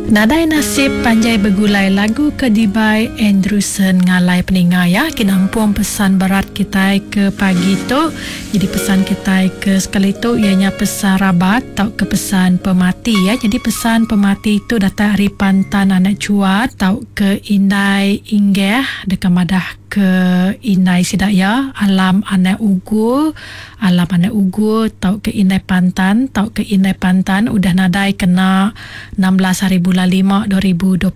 Nadai nasib panjai begulai lagu ke dibai Andrewson ngalai peninga ya ke nampung pesan berat kitai ke pagi tu. Jadi pesan kitai ke sekali tu iya nya pesan rabat tauka pesan pemati ya. Jadi pesan pemati tu datai ari Pantan Anak Chuat tauka Indai Inggeh deka madah ke indai sida iya Alam Anak Ugur Alam anak Ugur tauka Indai Pantan tauka Indai Pantan udah nadai kena 16 hari bulan lima 2026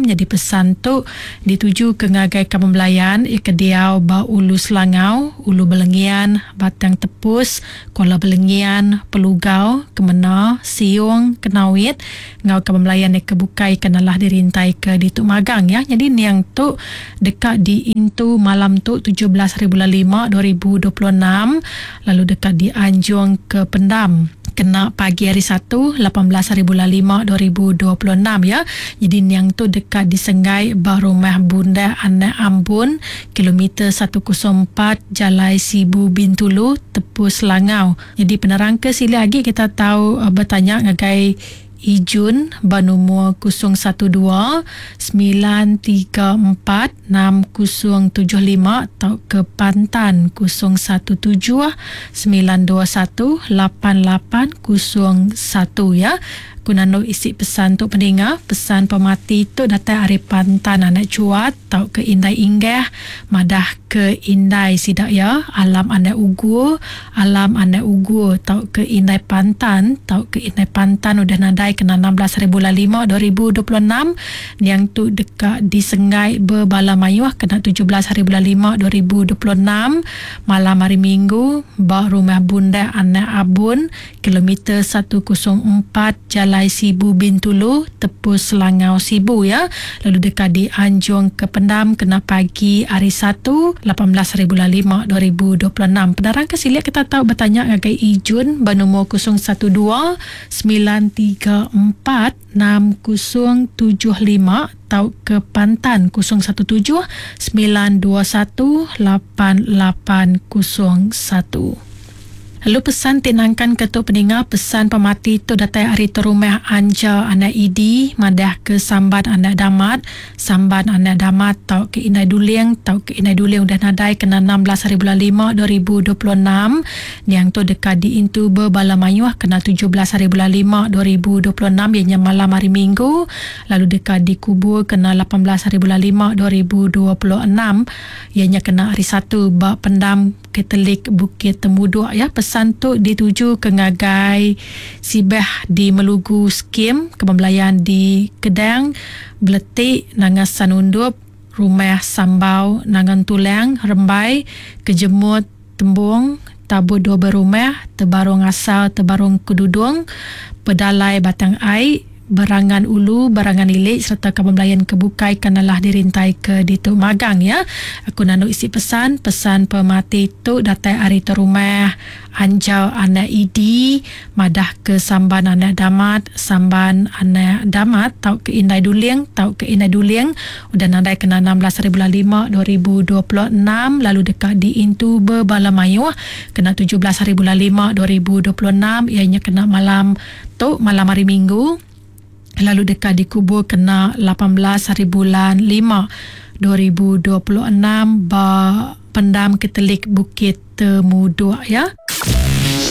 nyadi pesan tu ditujuka ngagai kaban belayan iya ke diau ba Ulu Selangau, Ulu Belengian, Batang Tepus, Kuala Belengian, Pelugau, Kemena, Siong, Kenawit enggau kaban belayan iya ke bukai ke nalah dirintaika ditu magang ya. Nyadi niang tu deka diintu malam tu 17 hari bulan lima 2026 lalu deka dianjung ke pendam kena pagi hari Satu 18 hari bulan lima 2026 ya. Nyadi niang tu deka disenggai ba Rumah Bundak Anak Ambun kilometer 104 Jalai Sibu Bintulu Tepus Selangau. Nyadi penerang ke silik agi kita tau betanya ngagai Ijun ba numur 012 934 6075 tauka Pantan 017 921 8801 ya. Ku nandu isi pesan tu peninga, pesan pemati tu datai ari Pantan anak Chuat tauka Indai Inggah madah ke indai sida iya Alam anak Ugur Alam anak Ugur tauka Indai Pantan tauka Indai Pantan udah nadai kena 16 hari bulan lima 2026 niang tu deka disenggai bebala mayuh kena 17 hari bulan lima 2026 malam hari Minggu ba Rumah Bundak Anak Abun kilometer 104 Jalai Sibu Bintulu Tepus Selangau Sibu ya lalu deka dianjung ke pendam kena pagi hari Satu 18 hari bulan lima 2026. Penerang ke silik kita tau betanya ngagai Ijun ba numur 012 934 6075 tauka Pantan 017 921 8801. Lalu pesan ti nangkan ke tu peninga pesan pemati tu datai ari Terumah Anja anak Idi madah ke Samban anak Damat. Samban anak Damat tauka Indai Duling tauka Indai Duling udah nadai kena 16 hari bulan lima 2026. Niang tu deka diintu bebala mayuh kena 17 hari bulan lima 2026 iya nya malam hari Minggu lalu deka dikubur kena 18 hari bulan lima 2026 iya nya kena hari Satu ba pendam Katolik Bukit Temuduk ya. Pesan tu dituju ke ngagai Sibah di Melugu Skim Kebun Belayan di Kedang, Beletik, Nanga Sanundup, Rumah Sambau, Nanga Entulang, Rembai, Kejemut, Tembung, Tabu Dua Berumah, Tebarung Asal, Tebarung Kedudung, Pedalai Batang Ai, Berangan Ulu, Berangan Ili sereta kaban belayan ke bukai ke nelah dirintai ke ditu magang ya. Aku nandu isi pesan, pesan pemati tu datai ari Terumah Anjau Anak Idi madah ke Samban Anak Damat, Samban Anak Damat tauka Indai Duling tauka Indai Duling udah nadai kena 16 hari bulan lima 2026 lalu deka diintu bebala mayuh kena 17 hari bulan lima 2026 iya nya kena malam Tu malam hari Minggu lalu deka dikubur kena 18 hari bulan lima 2026 ba Pendam Katolik Bukit Temuduk ya.